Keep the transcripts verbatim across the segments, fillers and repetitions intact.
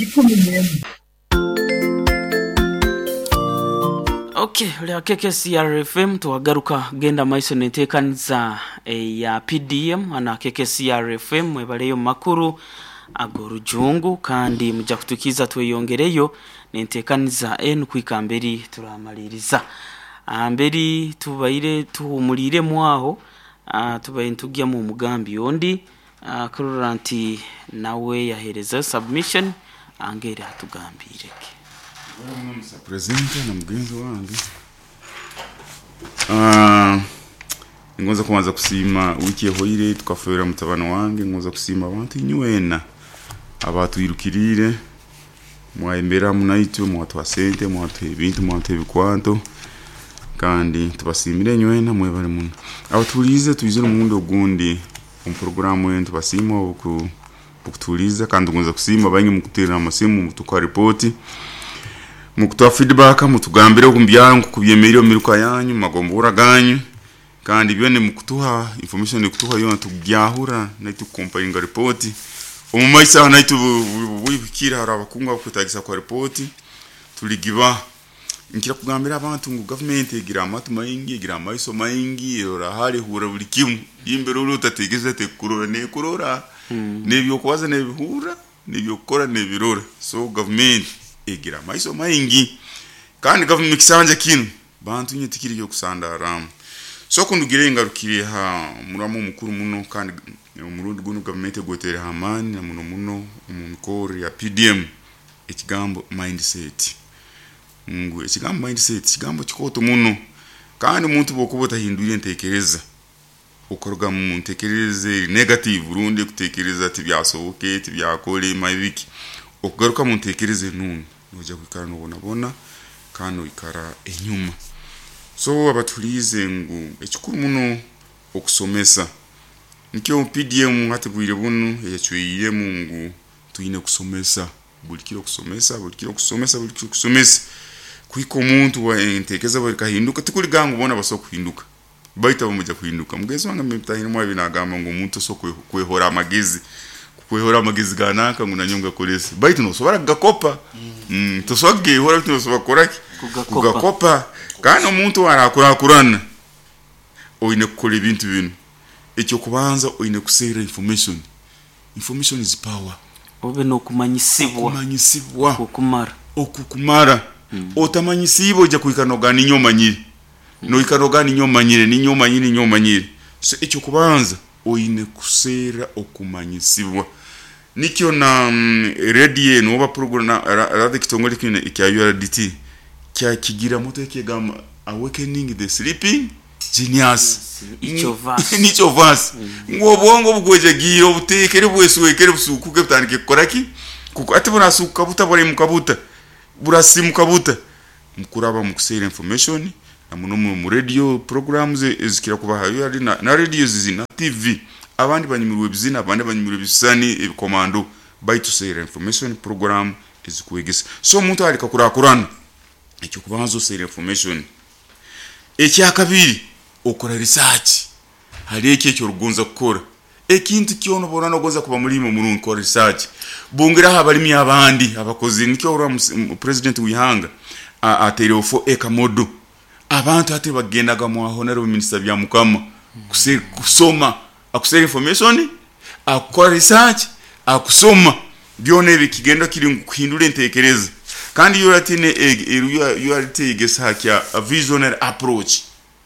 Ikumi n'emu. Okay, lya K K C R F M, tuwagaruka genda maiso nenteekaniza ya P D M ana K K C R F M. Mwebaleyo makuru ag'orujungu, kandi mujja kutukiza tweyongereyo nenteekaniza enu kwika mberi turamaliriza. Mberi tubaire tuhumuliremu aho, ah, tubaire ntugyamu omugambi ondi, ah, kurora nti nawe yahereza submission angeri atugambireke. Mister President na mugenzi wange, Ah, ngonza kubanza kusiima. Wiki ehoire tukafeera mutabani wange. Ngonza kusiima abantu inywena abatwirukiriire, mwayembera munaitwe, mwatuha sente, mwatuha ebintu, mwatuha ebikwanto, kandi tubasiimire inywena, mwebale muno. Abatuliize twizire omurundi ogundi omu poroguramu enu, tubasiima oku okutuliiza, kandi tugonza kusiima baingi mukuteerera amasimu, mutukuha ripooti, mukutuha feedback, mutugambire omu byaro nkukubyemeriire omu miruka yanyu, mumagombora ganyu, kandi byona mukutuha information, ekutuha yoona tugyahura naitu kukomparinga report omu maiso aho. Naitu bwibukire hari abakungu abakwetagisa kwa report tuligiba. Nkira kugambira abantu ngu gavumenti egira amatu maingi, egira amaiso maingi, erora hali, ehurra buli kimu. Imbere ori otategereza tekurora, nekurora, nebyokubaza nebihurra, nebyokukora nebirora. So gavumenti egira amaiso maingi, kandi gavumenti kisanja kinu bantu nye tikiri kyokusandaramu. So kundugire ngarukire ha muramu omukuru muno, kandi omurundi gunu gavumenti egwetere amaani na muno muno omu mikoro ya P D M, ekigambo mindset. Ngu ekigambo mindset kigambo kikooto muno, kandi omuntu bwokuba otahindwire entekereza, okuruga mu ntekereza eri negative rundi kutekereza tibyasoboke, tibyakole mabiki, okugaruka mu ntekereza enungi, noija kwikara nobonabona kandi noikara enyuma. So abatuliize ngu ekikuru muno okusomesa, nikyo P D M hati bwire bunu eyacwiremu ngu twine kusomesa buli kiro, kusomesa buli kiro, kusomesa buli kiro, kusomesa kuhika omuntu entekereza bwe ekahinduka. Tikuliga ngu boona basobola kuhinduka, baitu abamuja kuhinduka. Mugenzi wange mutahiremu abi nagamba ngu omuntu osobola kwehora amagezi, kwehora amagezi gananka ngu nanyowe ngakorese, baitu nosobora kugakopa. mm, tosobora kugehora, baitu nosobora kukoraki? Kugakopa. Kugakopa. Kandi omuntu arakurakurana oine kukora ebintu binu. Ekyokubanza, oine kuseera information. Information is power. Obe n'okumanyisibwa. Kumanyisibwa. Okukumara. Okukumara. Otamanyisiibwe ojja kwikara nogamba ninye omanyire, noikara nogamba ninye omanyire, ninye omanyire, ninye omanyire. So ekyokubanza oine kuseera okumanyisibwa. Nikyo na mm, radio enu oba program na ra- rather ekitongole kinu ekya U R D T kyakigira moto ekigamba "Awakening the Sleeping Genius". Each of us. Each of us, ngu obwongo bugwejagiire, obuteekere, bweswekere, busukuke, butandike kukora ki? Kuko ati burasukuka buta, buraimuka buta, burasimuka buta? Mukuraba mukuseera information, na muno mu radio programs ezikira kuba ha na, na radio zizi na T V. Abandi banyumirwa ebizina, abandi banyumirwa ebisani, ebikomando, baitu seera information program ezikwegesa. So omuntu alika kurakurana, ekyokubanza oseera information. Ekyakabiri, okora research hari ekyo ekyorugonza kukora. Ekintu kyona oba nogonza kuba mulimi omurungi, kora research, bongeraho abalimi abandi abakozi. Nikyo orora president w'ihanga ataireho four acre model. Abantu hati bagendaga mu honorable minister bya mukama kuse- kusoma, akusera information, akukora research, akusoma byona. Ebi kigenda kiri ngu kuhindura entekereza. Kandi U R T U R T egesa kya visionary approach,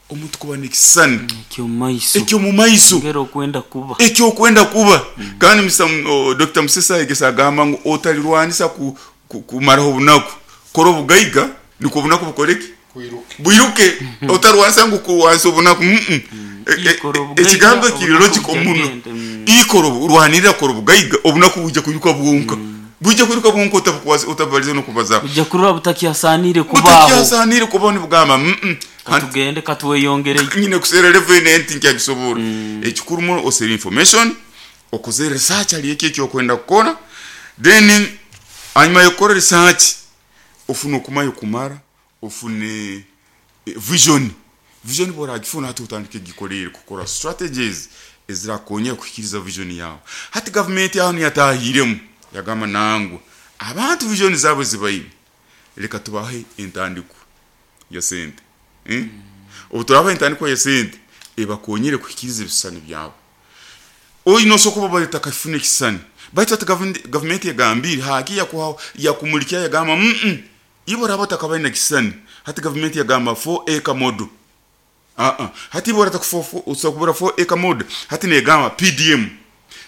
omuntu kuba n'ekisisani ekyomumaiso. Ekyomumaiso. Ngera okwenda kuba. Ekyokwenda kuba. Kandi Mister M- o, Doctor Musesa egesa agamba ngu otalirwanisa ku, ku, kumaraho obunaku, kora obugaiga nikwo obunaku bukoreki? Kwiruke. Bwiruke. Otarwanisa ngu kurwanisa obunaku, mm -mm. E- e- Ikora obugaiga, ekigambo kiri obunaku logical muno. bujagenda, mm. Ikora, rwanirira kora obugaiga, obunaku bujja kwiruka bwonka, bujja kwiruka bwonka, otabukwasa, otabaliza nokubaza. Ujja kurora butakyasanire kubaho. Butakyasanire kubaho, nibugamba mm -mm. Katugende, katweyongereyo. Nyine kusera level enti nkyagisobora. Ekikuru muno, osera information, okoze research ali ekyo ekyokwenda kukora. Then hanyuma yokukora research, ofune okumanya okumara, ofune eh, vision. Vision bworagifuna, hati otandike gikorere, kukora strategies ezirakonyera kuhikiriza vision yawe. Hati gavumenti aho niyatahiremu yagamba nangwa Abantu vision zaabwe zibaine, leka tubahe entandiko ya sente, eh? Mm. Obu turabaha entandiko ya sente ebakonyere kuhikiriza ebisisani byabo. Oyi nosokuba baleta kafuna ekisisani, baitu ati gavumenti yagambire haki yakuha yakumulikia yagamba mm -mm. Ibo raba takabaina kisisani, hati gavumenti yagamba four acre model. Ah ah, hati ibo rata usakubura four acre model, hati negamba P D M.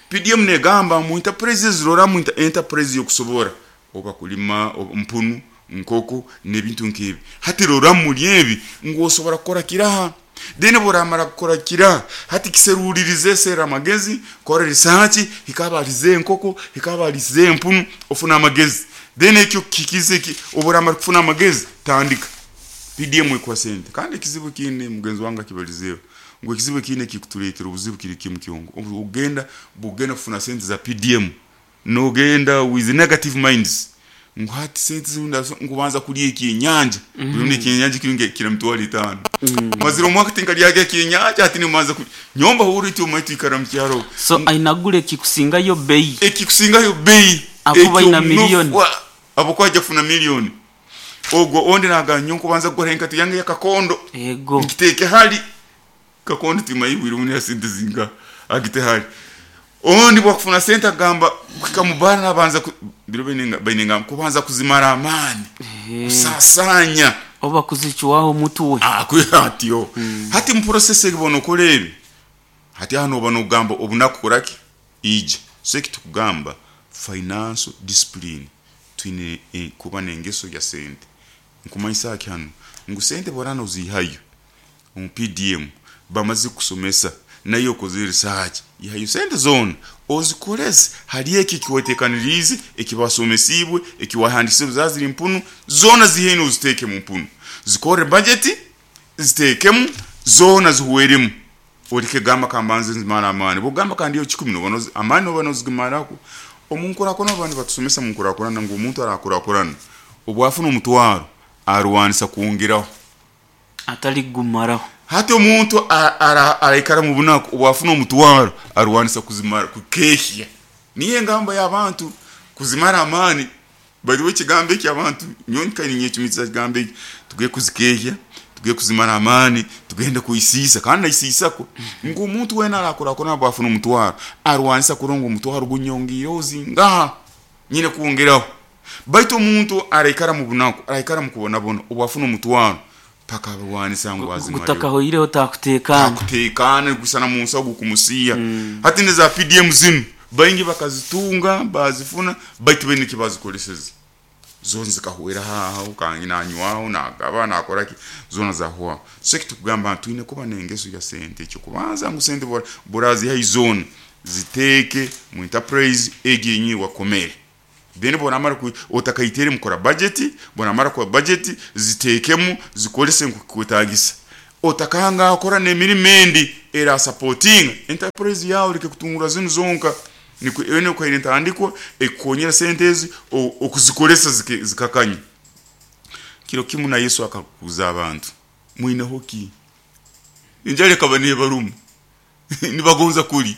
P D M negamba mu enterprises rora mu enterprise yokusobora oba kulima mpunu nkoko n'ebintu nkebi. Hati rora muri ebi ngo osobora kukora kiraha. Deni boramara kukora kiraha, hati kiserulirize sera amagezi, kora research, hikabarize enkoko, hikabarize empunu, ofuna amagezi. Deni ekyo kikize ki oboramara kufuna amagezi tandika. P D M ekwa sente. Kandi ekizibu kine mugenzi wange kibalizeyo. Ngo ekizibu kine kikutuletera obuzibu kiri kimu kyongo. Ogenda bugenda kufuna sente za P D M. No genda with negative minds. Ngo hati sente zunda ngubanza kulya ekinyanja. Buli ekinyanja kiringe kira mitwalo itano. Maziro mwaka tinkalyaga ekinyanja ati nimanza nyomba huru iti omaitu ikara mu kyaro. So ainagule kikusingayo bei. Ekikusingayo bei. Akuba ina milioni. Abo kwaje kufuna milioni. Ogwo onde naganyo kubanza kugora enkati yange yakakondo. Ego. Nkiteke hali kakondo timayibwira umuntu yasente zinga agite hali. Ondi bwakufuna sente agamba kikamubana nabanza biro bainenga bainenga kubanza kuzimara amani. Kusasanya oba kuzichwaho mutuwe. Ah kuyatyo. Hmm. Hati mu process ebono kolebe. Hati hano bano gamba obunakukoraki ije. So kitukugamba financial discipline twine eh, kuba nengeso ya sente. Nkumanyisa hano ngu sente borana uzihayo mu P D M bamaze kusomesa nayo koze research ihayo sente zone ozikolese hali eki kiwetekanirize ekibasomesibwe ekiwahandise zaziri mpunu zona zihene uziteke mu mpunu zikore budget zitekemu zona zihuweremu olike gamba kambanze nzimara amani bugamba kandi yo kikumi no amani no banozgimarako omunkurakona abantu batusomesa munkurakorana ngo omuntu arakurakorana obwafuna omutwaro arwanisa kuongeraho atali gumaraho. Hati omuntu araikara mu bunaku obwafuna omutwaro arwanisa kuzimara kukehya. Niye ngamba y'abantu kuzimara amani bali ekigambo eki abantu nyonka ninye kimitsa kigambo eki tugiye kuzikehya tugiye kuzimara amani tugende kuisisa kandi naisisako ngo omuntu wena arakurakona obwafuna omutwaro arwanisa kurongo omutwaro gunyongire ozinga nyine kuongeraho. Baitu omuntu araikara mu bunaku araikara mu kubonabona obwafuna omutwaro paka barwanisa ngo azimare gutakaho ireho takutekana takutekana gusana mu nsago kumusiya. Mm. Hati neza P D M zinu baingi bakazitunga bazifuna baitu bene kibazikoleseza zona zikahwera haho kangi nanywaho nagaba nakora ki zona zahuwa. So kitukugamba twine kuba nengeso ya sente cyo kubanza ngo sente bora borazi hay zone ziteke mu enterprise eginyi wakomere. Then bonamara ku otakayitere mukora budget bonamara kwa budget zitekemu zikolese nkukwetagisa otakanga akora nemirimo era supporting enterprise yawe like kutungura zinu zonka niko ene ko entandiko ekonyera sentezi okuzikolesa zikakanya. Kiro kimu na Yesu akakuza abantu mwine hoki injale kabane barumu nibagonza kuli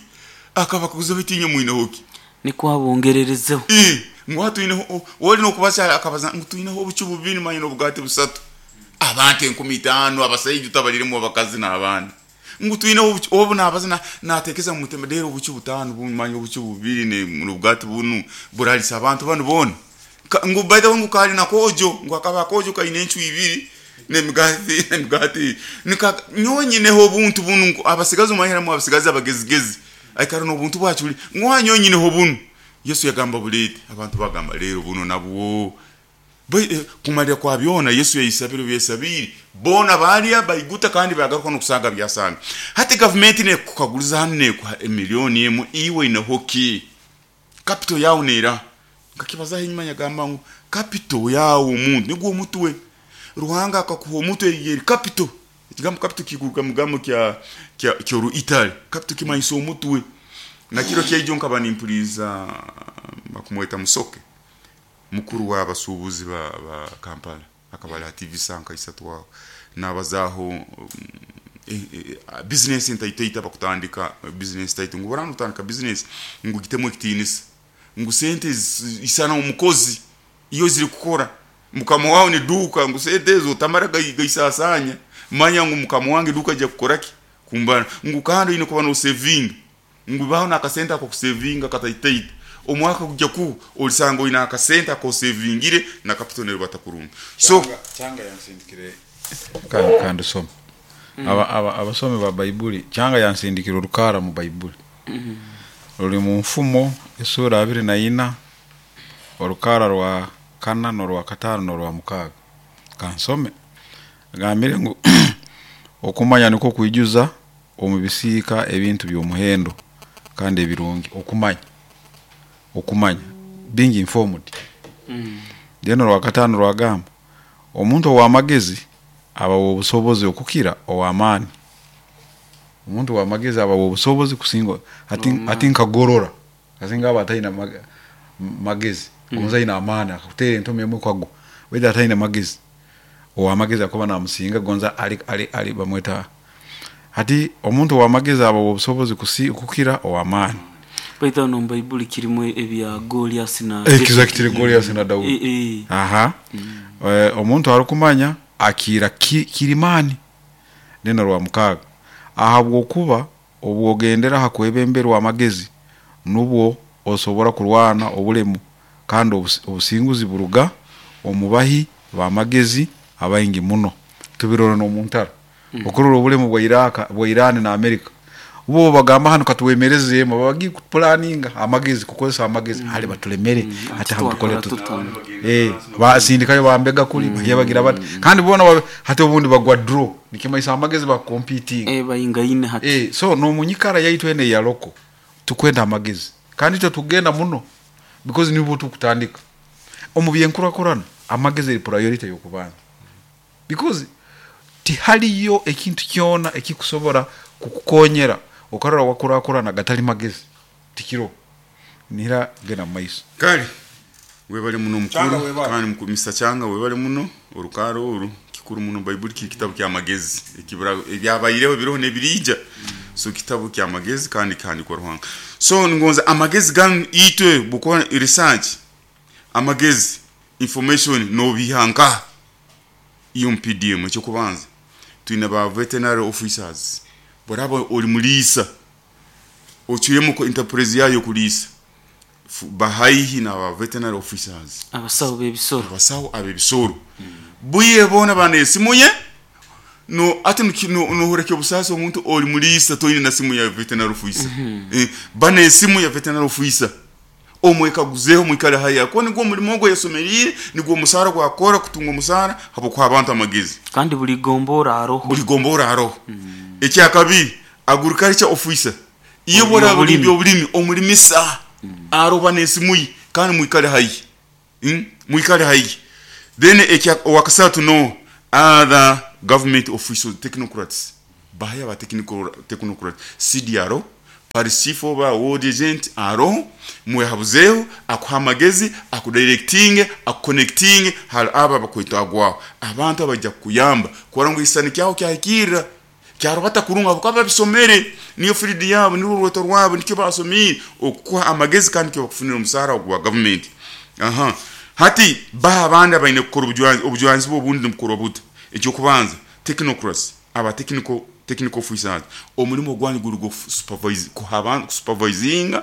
akabakuza bitinye mwine hoki niko abongererezeho eh ngwatu ine woli no kubasa akabaza ngutuineho obucubu bubiri manye n'obugati busatu abantu enkumi itano abasajja utabaliremu abakazi n'abaana ngutuineho obu nabaza natekeza mu mutima dero obucubu butano bumanye obucubu bubiri ne n'obugati bunu buralisa abantu bano bona ngu by the way ngukali nakojo ngwakaba kojo kaine enchu ibiri nemigati nemigati nika nyonyineho obuntu bunu abasigazi mahera abasigazi abagezigezi aikara n'obuntu bwachuli ngwanyonyineho bunu. Yesu yagamba bulete abantu bagamba lero buno nabwo eh, kumalira kwa byona Yesu yayisabiro byesabiri bona balya bayiguta kandi bagaruka no kusanga byasanga. Hati government ne kukaguliza hanne kwa milioni emu iwe ina hoki capital yawo nera ngakibaza hinyuma yagamba ngo capital yawo umuntu niguo mutwe Ruhanga akakuha omutwe yeri capital ekigambo capital kiguruka mugamo kya kya kyoru Italy capital kimanyiso omutwe. Na kiro kyaijo nkaba nimpuliza bakumweta Musoke mukuru w'abasuubuzi ba, ba Kampala akabala T V sanka isatu wao nabazaho um, eh, eh, business ntaiteita bakutandika business taitu ngo barano tandika business ngo gitemo ekitinisa ngo sente isana umukozi Iyo ziri kukora mukama wawe ni duka ngu sente ezo tamara gaisasanya, manya ngu mukama wange duka ajya kukora ki kumbana, ngu kandi oyine kuba no saving, ngu baho nakasente ako kusavinga kataitaita omwaka gujya ku olisanga oyine akasente ako savingire na capital ne batakurunga. So Kyanga yansindikire kandi kandi soma aba aba abasomi ba Baibuli, Kyanga yansindikire orukara mu Baibuli ruri mu mfumo esura abiri na ina orukara rwa kana n'orwa katano n'orwa mukaaga. Kansome agambire ngu okumanya niko kwijuza omu bisiika ebintu by'omuhendo kandi ebirungi. Okumanya, okumanya being informed. Then orwa katano rwagamba omuntu ow'amagezi aba obusobozi okukira ow'amaani. Omuntu w'amagezi aba obusobozi kusinga ati ati nkagorora kasinga aba ataina mag, magezi mm. Aina amaani akutera entomi emwe kwagwa weda ataina magezi ow'amagezi akoba namusinga gonza ali ali ali bamweta hati omuntu w'amagezi aba obusobozi kukira ow'amaani. Baita no Baibuli kirimu ebya Goliath na exactly Goliath na Daudi. E, e. Aha. Mm. E, omuntu arukumanya akira ki, kirimani neno rwa mukaga ahabwokuba obwogendera hakwebemberwa amagezi nubwo osobora kurwana obulemu kandi obusinguzi buruga omubahi b'amagezi abaingi muno. Tubirora no muntara mm. Okurora obulemu bwa Iraq bwa Iran na America bo bagamba hano katuwemereze babagi planninga amagezi kukozesa amagezi mm. Hali batulemere mm. Ati hatukole tutu eh basindikayo bambega kuli mm. Bagira bati kandi bona hati obundi bagwa draw nikimaisa amagezi ba competing eh bayinga ine hati eh so no munyikara yaitu ene ya loko tukwenda amagezi kandi tyo tugenda muno because nibo tukutandika omu byenkurakurana amagezi eri priority yokubanza because tihaliyo ekintu kyona ekikusobora kukukonyera okarora wakurakurana gatali magezi tikiro nira gena maiso. Kale webale muno mukuru kandi mkumisa Kyanga webale muno orukaro oru kikuru muno. Baibuli kiri kitabu kya magezi ekibura ebyabayireho biroho nebirija so kitabu kya magezi kandi kandi kwa Ruhanga. So ngonza amagezi gan itwe bukora research amagezi information no bihanka iyo P D M cyo kubanza twina ba veterinary officers boraba oli mulisa ochuyemo ko enterprise yayo kulisa bahaihi na ba veterinary officers abasawo bebisoro abasawo abebisoro mm. Buye bona bane simuye no ati no no horeke busaso omuntu oli mulisa toyine na simu ya veterinary officer mm -hmm. Eh, bane simu ya veterinary officer omweka guzeho mwikale haya ko nigwo mulimo gwo yasomerire nigwo musara gwakora kutunga musara habo kwa abantu amagezi kandi buli gombora aroho buli gombora aroho mm. Ekyakabi agriculture officer iyo bora buli bulimi omulimisa mm. Aroba nesimuyi kandi mwikale hayi mm? Mwikale hayi. Then ekya wakasatu no other government officials technocrats bahaya ba technical technocrats C D R O parisifo ba world agent aro mwehabuzeho akuhamagezi akudirecting akuconnecting hal aba bakwitagwa abantu abajya kuyamba kwara ngo isani cyaho cyahikira cyarobata kurunga bukaba bisomere niyo fridi yabo ni ruroto rwabo nikyo basomire okuha amagezi kandi cyo bakufunira umusara wa government. Aha hati ba abandi abayine kukora ubujwanzi ubujwanzi bo bundi mukoro buta icyo kubanza technocrats aba technical technical officers omulimo gwanyu guri go supervise kuhaban supervising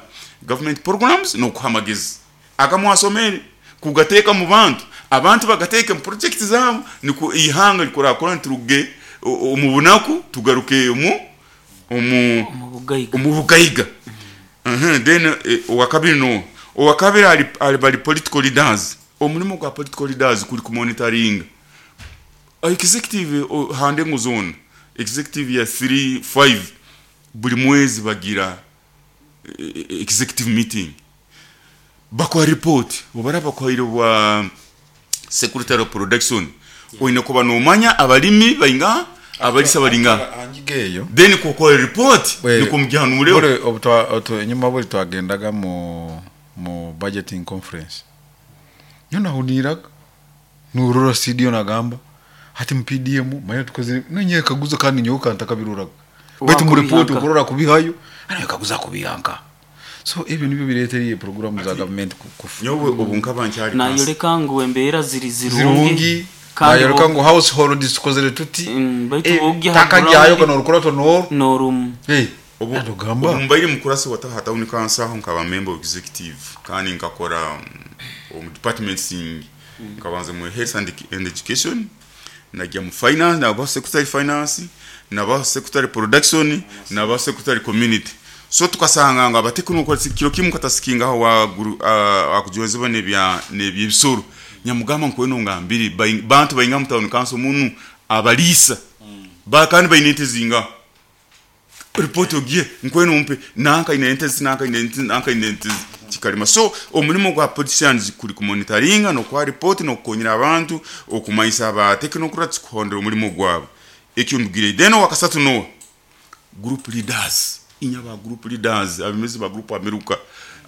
government programs no kuhamagezi akamwasomere kugateka mu bantu abantu bagateka mu project zabo niko ihanga likora kora turuge omu bunaku tugaruke mu omu omu bugaiga. Mhm then owakabiri no owakabiri ali ali bali political leaders omulimo gwa political leaders kuri ku monitoring executive hande ngo zone executive ya three five buli mwezi bagira executive meeting bakwa report obara bakwaire bwa secretary of production oyina kuba nomanya abalimi bainga abalisa balinga angigeyo then kokora report nikumjyana ule obutwa nyuma buli twagendaga mu mu budgeting conference nyona huniraga nurora studio nagamba hati mu P D M manya tukoze nonye kaguza kandi nyoka ntakabiruraga betu mu report ukurora kubihayo ana kaguza kubihanka So ebyo nibyo bireetere programu za gavumenti ku- kufu Nyowe obu nkaba nkyali kansa- Nayoleka ngu embeera ziri zirungi. Zirungi. Kandi Nayoleka bo- ngu household tukozere tuti. Mm, baitu Eh, bw'ogya taka ha ground- ryayo gano orukurato noru. N'orumu. Eh, Obu atugamba obu mbaire mukurasi wa taha town council, aho nkaba member of executive, kandi nkakora mm, omu department singi. Nkabanza mu health and, and education, najya mu finance, naba secretary finance, naba secretary production, naba secretary community. So tukasanga nga abatekinokora kiro kimu katasikingaho wa guru- ah, akujwezebwa nebya nebyebisoro. Nyamugamba nkweno ngambiri bai- bantu bainga mu town council munu abalisa ba kandi baine ente zinga ripoti ogiye nkweno umpe nanka ine ente zi, nanka ine ente, nanka ine ente zi. Kikalima. So omulimo gwa politicians kuri kumonitoringa no kwa report no kukonyera abantu okumanyisa aba technocrats kuhondera omulimo gwabo. Ekyo ndugire. Then wakasatu no group leaders, inya ba group leaders, abemezi ba group ameruka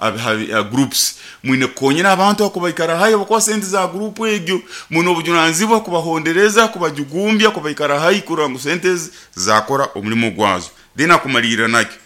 abe- habe- a groups, mwine kukonyera abantu ako baikara hayo bakuba sente za group egyo, mwine obujunanizibwa kubahondereza, kubajugumbya, kubaikara hayi kurora ngu sente ezi zakora omulimo gwazo. Then akumalirira nakyo,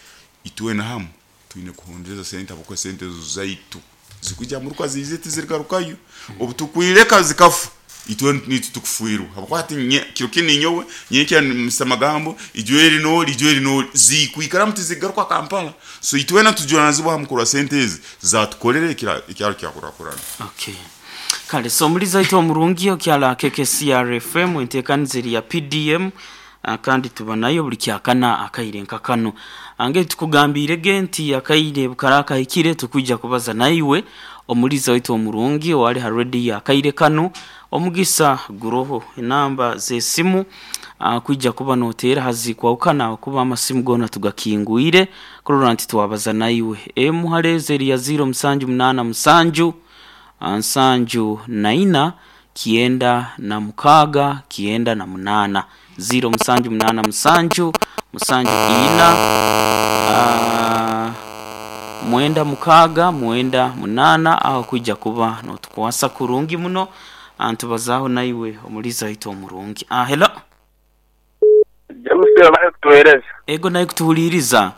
itwe na hamu twine kuhondereza sente abakuba sente ezo zaitu zikujya muruka zize tizirigarukayo. Obu tukwireka zikafu, itwe nitu tukufuirwa abakuba ati nye- kiro kini nyowe nyenkya mr magambo ijweri noli ijweri noli zikwikara mutizigaruka Kampala. So itwena tujunanizibwa hamu kurwa sente ezi zatukorera ekira- ekyaro kyakurakurana. Okay, kale, so omuliza waitu omurungi okyala K K C R F M, enteekaniza eri ya P D M, ah, kandi tuba nayo buli kyakana akaire nka kano. Ange tukugambirege nti akaire bukara kahikire, tukwijja kubaza naiwe omuliza waitu omurungi owali ha rediyo akaire kano. Omugisa guroho, enamba z'esimu ah, kwijja kuba noteera hazikwawukana kuba amasimu gona tugakingwire kurora nti twabaza naiwe. Emu haleezi eri ya ziro musanju munaana musanju nsanju naina kienda na mukaaga kienda na munaana, ziro musanju munaana musanju musanju ina ah, mwenda mukaaga mwenda munaana. Aho kwijja kuba notukwasa kurungi muno antubazaaho naiwe omuliza waitu omurungi. Ah, hello. James, bari kutuhereza. Ego, naye kutuhuliriza.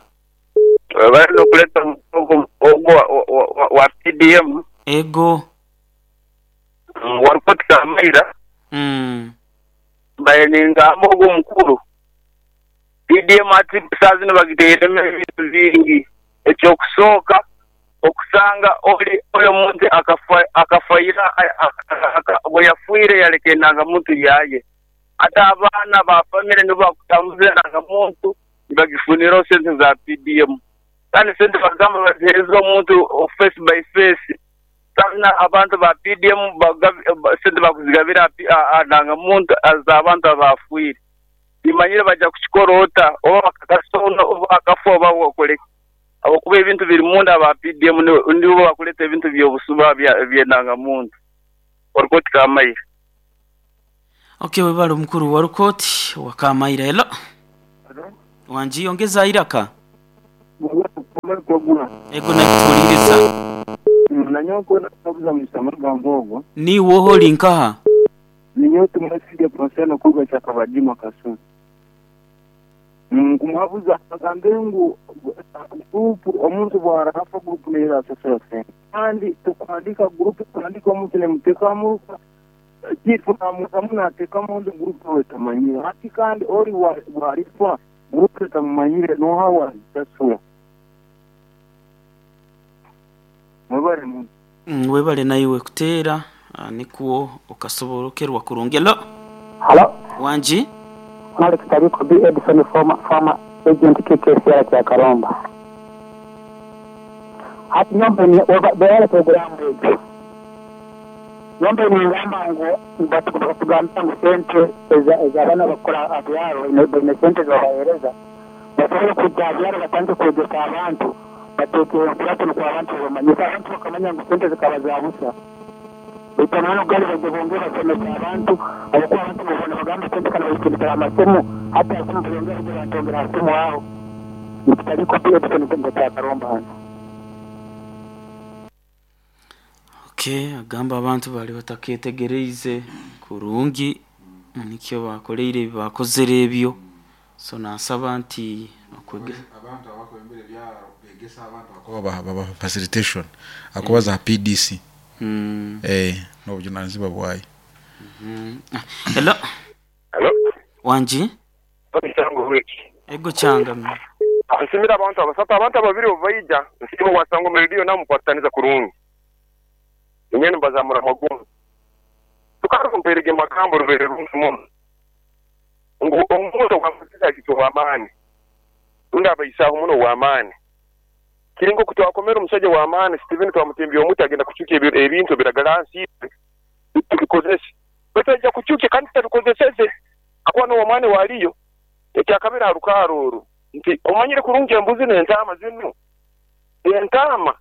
Bari nokuleta omugongo ogwo wa, wa, wa, wa P D M. Ego. Warikoti Kamaira. mm. Mbaye ningamba ogwo mukuru P D M ati saa zino bagiteeremu ebintu bingi. Ekyokusooka, okusanga oli oyo omuntu akafa akafaira bwe yafiire yaleka endangamuntu yaye, ate abaana ba famire nibo bakutambuza endangamuntu nibagifuniraho sente za P D M. Kandi sente bagamba bazihereza omuntu face by face. Sana abantu ba P D M bagabi- ba- sente bakuzigabira ndangamuntu z'abantu abafiire. Nimanyire bajja kukikora ota oba bakakasona oba akafa oba bakoleki, abakuba ebintu biri munda aba P D M ni- nibo bakuleta ebintu by'obusuba bya- by'endangamuntu. Orikoti Kamaire. Okay, webale omukuru warukoti wakamaira. Hello, wanji ongeza iraka. Ego, nakutuhuliriza. Nanyowe nkabuza misa amagambo ogwo. Niwoho oli nkaha? Ninyowe tumwesige Ponsiano kuga kyakabadima Kasulu. Nkumuhabuza agambe ngu gurupu omuntu bwarafa gurupu niyo asasura sente, kandi tukwandika gurupu tukwandika omuntu nemuteka muruka kifu namukamu natekamu ondi gurupu wetamanyire hati, kandi ori wa- bwarifa gurupu etamumanyire noha wazisasura. Mwebale muno. Mm, webale naiwe kuteera, ah, nikuwo okasoborokerwa kurungi. Hello. Halo, wanji. Malik Tariko B. Edison, former, former agent K K C R kya Karomba. Hati nyombe ni beale programu egyo. Nyombe ningamba ngu batugamba ngu sente eza- ez'abaana bakora abyaro baine baine sente zobahereza, basobole kujja abyaro batandike kwegesa abantu, bateeke enkurato nukwo abantu bamanyisa abantu bakamanya ngu sente zikaba za busa. Baitu amahano gali bajja bongere basomesa abantu, habwokuba abantu mubona bagamba sente kana bazitundikira amasimu, hata asimu bongera bajja bantongera asimu aho. Nikitaliko pia Edison kya Karomba hano. Okay, agamba abantu bali bataketegereize kurungi nikyo bakoleire ebi bakozere ebyo. So nasaba nti okwege Abantu abakwembere ebyaro. Nibegesa abantu akuba baba baba facilitation akuba za P D C. Mm. Eh n'obujunanizibwa bwayo. Mm. Hello. Hello. Wanji? Ego changa. Nsimira abantu abasatu abantu ababiri obaija nsimu wasango radio namukwataniza kurungi. Nyene mbazamura magumu. Tukarumpere magambo rubere rungi. Ngo omuntu wamusiza kito amani. Unda abayisaho muno wa amani. Kiringo kutwakomera omusajja wa amani Steven twamutembi omuti agenda kuchuka ebintu biragalansi tubikozese. Betaja kuchuka kandi tubikozeseze akwa no amani waliyo. Ekyakabira arukaruru nti omanyire kurungi embuzi n'entama zinu. Entama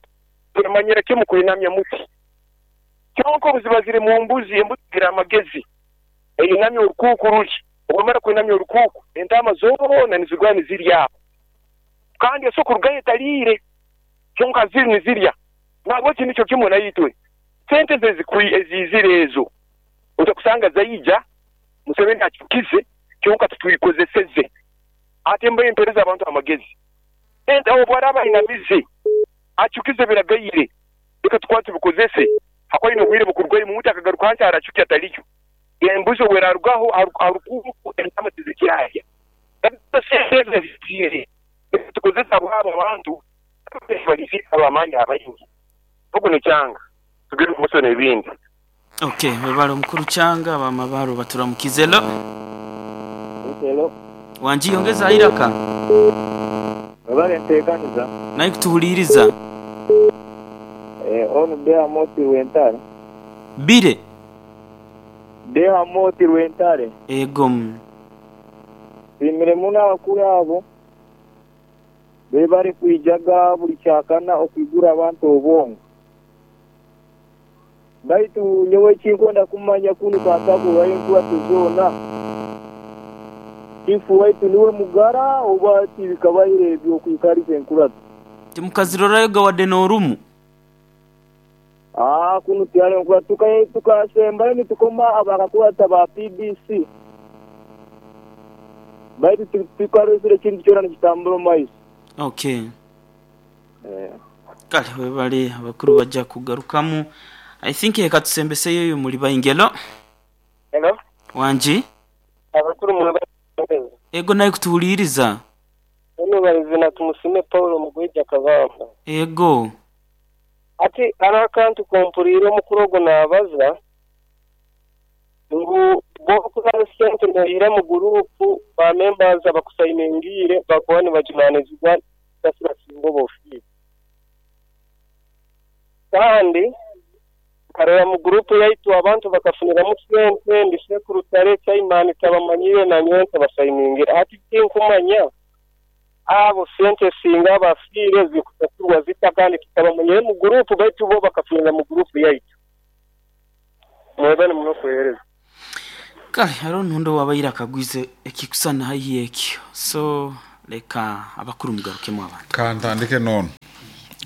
emanyire kimu kuinamya muti. Kyonko buziba ziri mu mbuzi embuzi zira amagezi. Einamya orukuku ruli. Omara kuinamya orukuku entama zona nizigwa nizirya. Kandi esoko rugaye talire. Kyonka ziri nizirya. Nabwo kinicho kimwe nayitwe. Sente zezikwi ezizire ezo. Utakusanga zaija Museveni achukize kyonka tutuikozeseze. Ate mbaye impereza abantu amagezi. Ente abo bwaraba inamize achukize biragayire. Reka tukwate bikozese. Hakwali no bwire bukurwaye mu mutaka garuka hansi arachuki atalicho. Embuzo werarugaho arukuku entama tizikiraya. Tukozesa abo abantu balisi abamanya abayingi. Huko ni changa. Tugire muso n'ebindi. Okay, webale omukuru changa abamabaro baturamukizelo. Hello. Wanji ongeza iraka. Webale ntekaniza. Naye kutuhuliriza. Eh onu beha moti rwentare. Bire. Beha moti rwentare. Ego. Bimire muna abakuru abo. Bebare kwijaga buli kyakana okwigura abantu obwongo. Baitu nyowe chinkonda kumanya kunu katabu wayo tuzona. Ifu waitu niwe mugara oba tibikabaire ebyo kwikariza enkuratu. Timukazirora gawadde n'orumu. Ah kunu tyale enkuratu tukaye tukasemba ni tukoma abakakurata ba P B C. Baitu tukarosire kintu kyona nikitambura maiso. Okay. Eh. Kale webale abakuru bajja kugarukamu. I think ekatusembese yo muri bayingelo. Hello. Wanji? Abakuru mu Ego naye kutuhuliriza. Ono balizina tumusime Paulo mugweja kabamba. Ego. Ati arakantu kompuriro mukurogo nabaza ngu bokula sente ndahira mu group ba members abakusayiningire bakoni bajunanizwa tasira singo bofi. Kandi karera mu group yaitu abantu bakafunira mu sente ndise kurutare chaimani tabamanyire na nyonta basayiningira ati tinkumanya abo sente singa bafire zikusasurwa zita kandi kitabamanyire mu group baitu bo bakafunira mu group yaitu mwebane muno kuhereza. Kale haro ntundo wabayira kagwize ekikusana hayi ekyo so leka abakuru mugarukemo abantu kantandike nono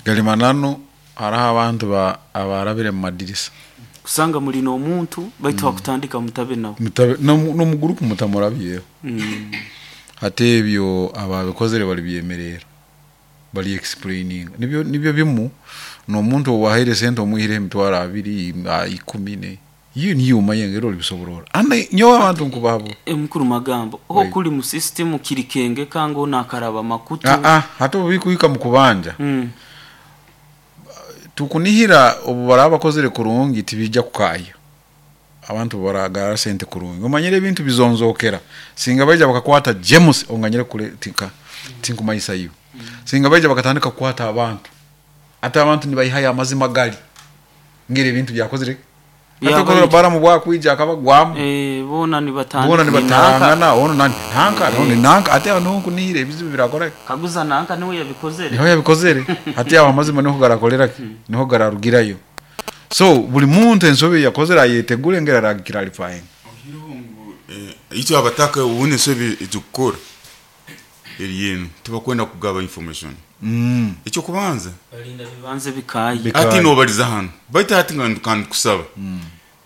galimanano haraho abantu ba abarabire mu madirisa kusanga muri no muntu baitu mm. Bakutandika mutabe nawo mutabe no, no mu group mutamurabyeho mm. Ate ebyo ababikozere bali byemerera bali explaining nibyo nibyo bimu no muntu wahaire sente omuhire emitwaro abiri ikumi ne iyo niyo mayengero libisoborora ane nyo abantu nkubabo e mukuru magambo ho kuli mu system kirikenge kango nakaraba makutu ah ah hato bikuika mu kubanja mm. Tukunihira obu bakozere kurungi tibijja kukaya abantu baragara sente kurungi omanyire ebintu bizonzokera singa baija bakakwata James onganyire kule tika tinkumayisa iyo mm. Singa baija bakatandika kukwata abantu ate abantu nibayihaya amazima gali ngire ebintu byakozere atokora bara mu bwakwija akabagwamu eh bona ni batandika bona ni batangana ono nani nanka ono nanka ate ano kunihira ebizibu birakora kaguza nanka niwe yabikozere niho yabikozere ate awo amazima niho garakolera niho gararugirayo so buli muntu ensobe yakozera ayetegule ngera ragira alifine eh icyo abataka ubune ensobe itukora eriyenu tubakwenda kugaba information mm icyo kubanza balinda bibanze bikaye ati no baliza hano baita ati ngan kusaba mm.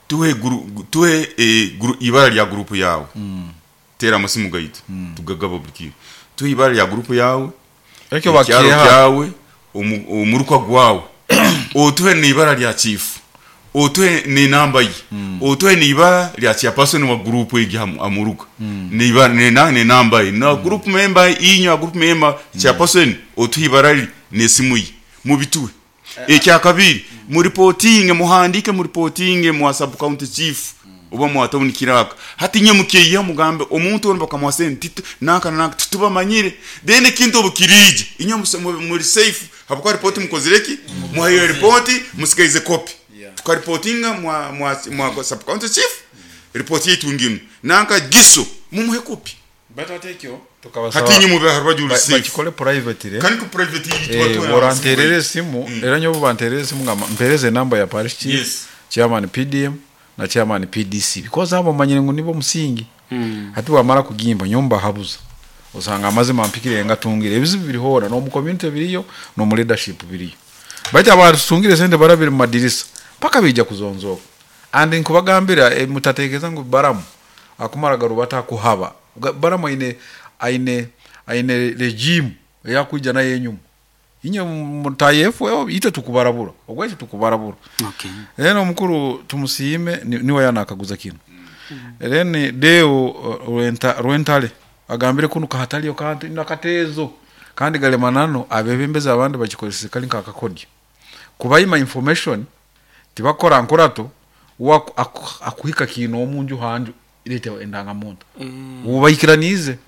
tuhe guru tuhe e, guru, ibara lya group yawe mm. tera amasimu gaitu mm. tugagaba buli tuhe ibara lya group yawe ekyo bakiha yawe omu- omuruka gwawe otuhe n'ibara lya chief, otuhe n'enamba ye, otuhe n'ibara lya chairperson wa group egi hamu- amuruka n'ibara n'ena- n'enamba ye na group member inywa group member chairperson otuhe ibara lye n'esimu ye mubituhe. Ekyakabiri, muripotinge, muhandike, muripotinge mwa sub county chief oba mwa town kiraka. Hati nye mukeiha mugambe omuntu ono bakamuha sente titu nanka nanka titubamanyire. Then ekintu obukirije inywe muse- mu- muri safe habwokuba ripoti mukozire ki, muhayo ripoti musigaize kopi. Tukaripotinga mwa mwa mwa sub county chief, ripoti yetu ngino nanka giso mumuhe kopi. Tukabasaba Hati nye mube harubaju uri ba- safe bakikole privately. Kandi ku private Eh, boranterera esimu era nyobo banterera esimu nga mpereze enamba ya parish chief, Yes. chairman P D M na chairman P D C, because abo manyire ngu nibo musingi. Hati bwamara kugimba nyomba habuza osanga amazima mpikire ngatungire ebizibu biri hona no mu community biriyo no mu leadership biriyo, baitu abatungire sente barabiri mu madirisa paka bija kuzonzoka. And nkubagambira e, mutatekereza ngu baramu akumara garubata kuhaba. Ga- baramu aine aine aine regime eyakwija nayo enyuma. Inye mutayefu ite tukubarabura ogweki tukubarabura. Okay. Rero omukuru tumusiime ni- niwe yanakaguza kino. Then deo uh, rwenta rwentale agambire kuno kahataliyo kantu nakatezo kandi galemanano abebembezi abandi bakikozesa kali nkakakodya kubayima information tibakora nkurato waku- aku- akuhika kino omunju hanju irete endangamuntu ubayikiranize.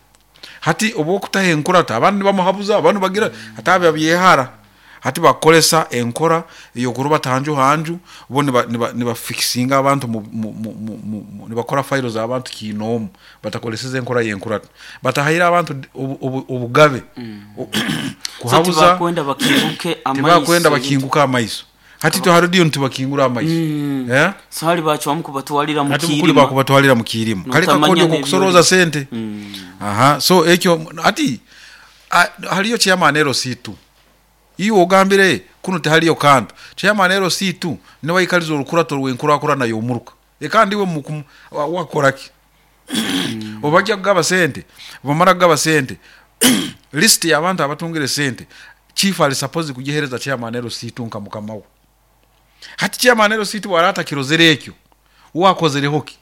Hati obwokutaha enkurato abandi bamuhabuza abandi bagira hati abya byehara hati bakolesa enkora eyokuruba tanju hanju bo niba niba nibafikisinga abantu mu, mu, mu, mu, mu, mu- nibakora file z'abantu kinomu batakoleseza enkora y'enkurato batahayira abantu obu- obu- obugabe O- So kuhabuza. tibakwenda bakinguke amaiso. Tibakwenda bakinguka amaiso. Hati tuharudiyo ntibakingura amaiso. Mm. Eh? So hali bacwamu kubatwalira mu Ati mukuli kirima. bakubatwalira mu kirima kali Notamanya kakodyo n'ebyoli. kokusoroza sente. Mm. Aha, so ekyo ati a- haliyo chairman L C two iwe ogambire kuno tehaliyo kantu. Chairman L C two niwe aikaliza orukurato rw'enkurakurana y'omuruka ekandi iwe mukumu- wa- wakoraki obajja kugaba sente bamara kugaba sente list y'abantu abatungire sente chief ali supposed kugihereza chairman L C two nka mukama we. Hati chairman L C two waratakirozere ekyo wakozereho ki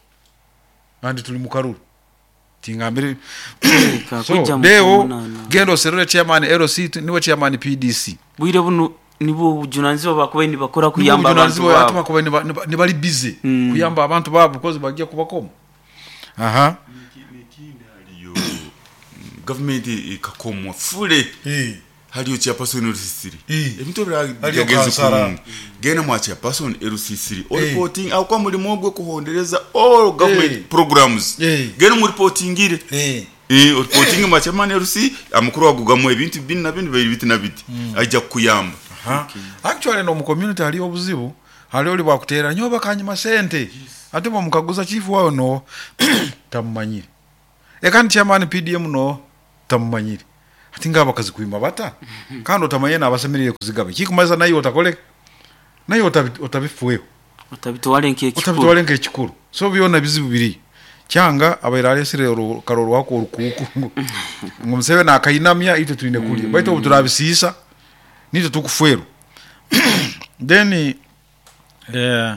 andi tuli mukaruru tingambire. Ka So kujja mu deo kumunana. genda oserere chairman L C two niwe chairman P D C. Bwire buno nibwo bujunanizibwa bakubaye nibakora kuyamba abantu ati babo. bakubaye niba- niba- nibali busy Mm. kuyamba abantu babo because bajja kubakoma aha. Haliyo gavumenti ikakomwa fule haliyo chairperson L C three. Eh. Ebintu Haliyo biragenze kansara. kurungi. Genda mwa chairperson L C three oripoting akwa mulimo gwe kuhondereza all government Eh. programs. Eh. Genda muripotingire. Eh, oripotinge mwa chairman L C amakuru agugamu ebintu bini na bini biri biti na biti ajja kukuyamba. Aha. Actually no mu community haliyo obuzibu haliyo oli bwakutera nyoba kanyuma sente ate bwamukaguza chief wawe no tamumanyire ekandi chairman P D M no tamumanyire ati nga abakazi kuima bata kandi otamanye nabasemerire kuzigaba kikumaza naye otakole naye otabi- otabifuweho. Otabitwale nk'ekikulu. Otabitwale nk'ekikulu. So byona bizibu biri kyanga abaire alesire orukaro rwako orukuuku ngu ngu Museveni akainamya itwe twine kulya baitu obu turabisiisa nitwe tukufwerwa. Then eh,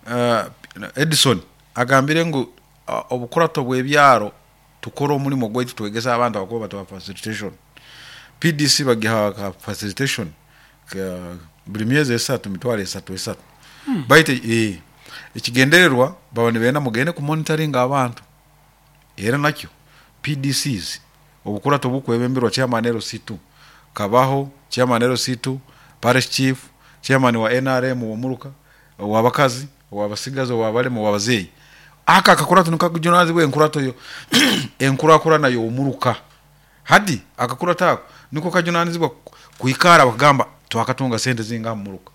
uh, Edison agambire ngu uh, obukurato bw'ebyaro tukore omulimo gwaitu twegesa abantu abakuba batuba facilitation. P D C bagiha ka facilitation ka buli myezi esatu mitwalo esatu esatu baitu eh, ekigendererwa baba nibenda mugende ku monitoring abantu. Era nakyo P D Cs obukurato bukwebemberwa chairman L C two kabaho chairman L C two, parish chief, chairman wa N R M womuruka owabakazi owabasigazi owabalema owabazeeyi. Aka akakurato nikakujunazibwa enkurato yo enkurakurana yomuruka. Hadi akakurato ako niko kajunanizibwa kuikara bakagamba twakatunga sente zinga muruka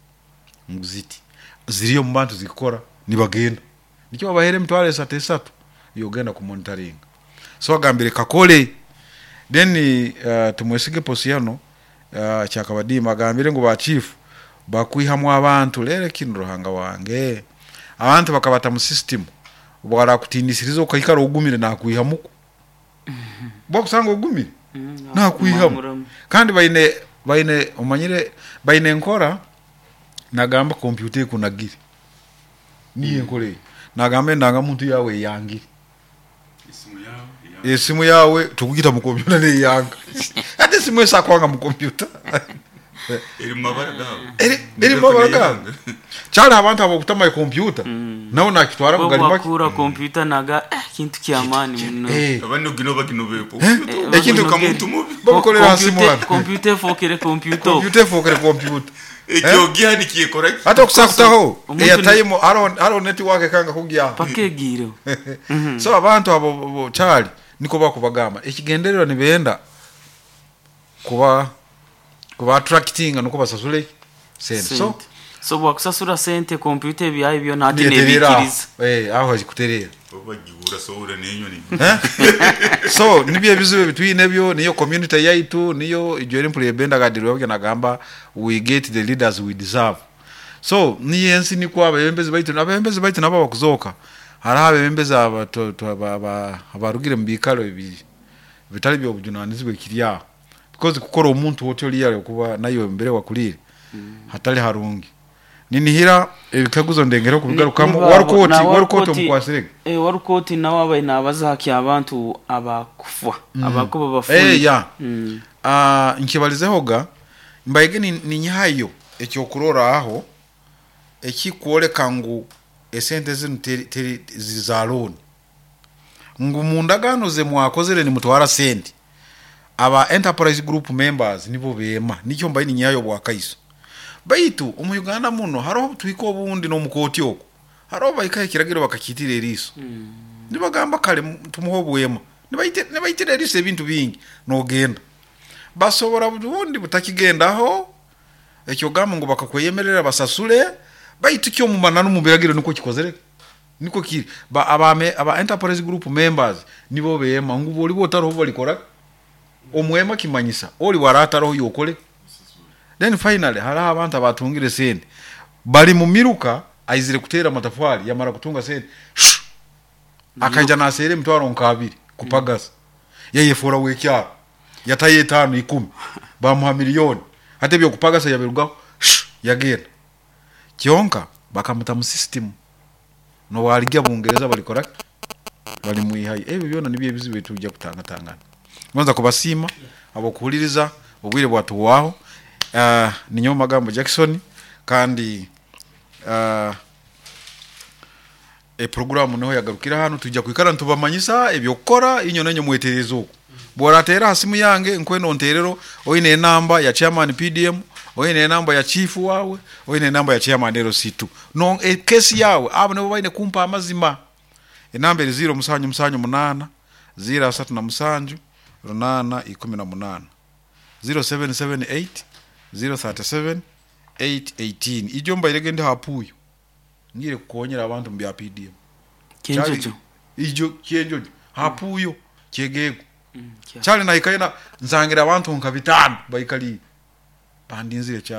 nguziti ziriyo mu bantu zikora nibagenda nikyo babahere emitwaro esatu esatu yogenda ku monitoring. So agambire kakole. Then uh, tumwesige Posiano uh, kyakabadiima agambire ngu ba chief bakwihamu abantu lere kino ruhanga wange abantu bakabata mu system bwarakutinisiiriza okaikara ogumire nakwihamuku bwakusanga ogumire nakwihamu. Mamuramu. Kandi baine Baine omanyire baine enkora nagamba kompyuta ekunagire niyo enkora eyo nagamba endangamuntu yawe eyangire Esimu yawe esimu yawe tukugita mu kompyuta neyanga ate esimu esakwanga mu kompyuta eri mu mabara gawe eri eri mu mabara gawe kyali abantu abo okutama kompyuta nawe nakitwara Bo kugalimaki bwakura kompyuta naga eh, kintu kyamaani muno Eh, abandi ogino baginobeeko Eh, ekintu- kamuntu mubi bamukolera hasi Kompyuta- mwana kompyuta efookere kompyuta kompyuta efokere kompyuta ekyo gihanikiyekora ki ate okusakutaho Omuntu airtime hariho hariho network ekanga kugyaho paka egiireho so abantu abo bo- kyali niko bakubagamba ekigendererwa nibenda kuba kuba attractinga nuko basasule sente so sente so bwakusasura sente kompyuta ebyayo byona ate niyeterera aho. nebikiriza Eh, aho hazikuterera bagihura sohora n'enyoni Eh? So nibyo ebizibu ebitwine byo niyo community yaitu niyo ijo empura ebenda nagamba we get the leaders we deserve. So niyo ensi nikwo abebembezi baitu abebembezi baitu nabo bakuzoka hariho abebembezi aba to- to- aba- aba- abarugire mu biikaro ebi bitali byobujunanizibwa ekiri aho because kukora omuntu oti oliyale okuba nayo mbere wakulire hatali harungi. Ninihira ebikaguzo ndengere okubigarukamu. Ni- niba- Warukoti na warukoti warukoti- omukwasirege. Eh, warukoti nawe abaye nabazaaki abantu abakufa abakuba bafuire. Eh, ya. Mm. Ah, nkibalizehoga mbaige ni- ninyihayo ekyokurora aho ekikwoleka ngu esente zinu teri, teri za looni ngu mu ndagaano ze mwakozere nimutwara sente aba enterprise group members nibo beema nikyo mbaye ninyihayo bwakaiso baitu omu Uganda muno hariho tuhika obundi n'omukooti okwo hariho bahikaho ekiragiro bakakitira eriiso nibagamba kale mu- tumuhe obwema Nibaite- nibaitira eriiso ebintu bingi nogenda basobora bundi butakigendaho ekyo gamba ngu bakakweyemerera basasule baitu kyo mumananu mu biragiro niko kikozere niko kiri ba aba, aba enterprise group members nibo beema ngu boli botariho balikora omwema kimanyisa oli waratariho yokole. Then finally hariho abantu abatungire sente bali mu miruka aizire kuteera amatafari yamara kutunga sente shu, akaija naseera emitwaro nk'abiri kupagasa yayefura wekyaro yatayo etaano ikumi bamuha miliyoni ate ebyokupagasa yabirugaho shu, yagenda kyonka bakamuta mu system nowaligya Bungereza balikora balimwihayo. Ebyo byona nibyo ebizibu ebitujja kutangatangana. Ngonza kubasiima abokuhuliriza obwire bwatuwaho. uh, ninyowe Magambo Jackson kandi uh, eproguramu niho yagarukira hano tujja kwikara ntubamanyisa ebyokukora inyo nenyo mwetereza okwo bworateera ha simu yange nkweno nterero oine enamba ya chairman P D M oine enamba ya chief wawe oine enamba ya chairman L C two no e, kesi yawe abo nibo baine kumpa amazima. Enamba eri zero musanju musanju munana zero asatu na musanju runana ikumi na munana zero seven seven eight zero thirty seven eight eighteen. Ijo mbairege ndi hapuyo ngire kukonyera abantu mu bya P D M Kyenjojo ijo kyenjojo hapuyo kyegego Mm, kya. kyali nahikayo na nsangira abantu nka bitano baikali bandinzire cyane.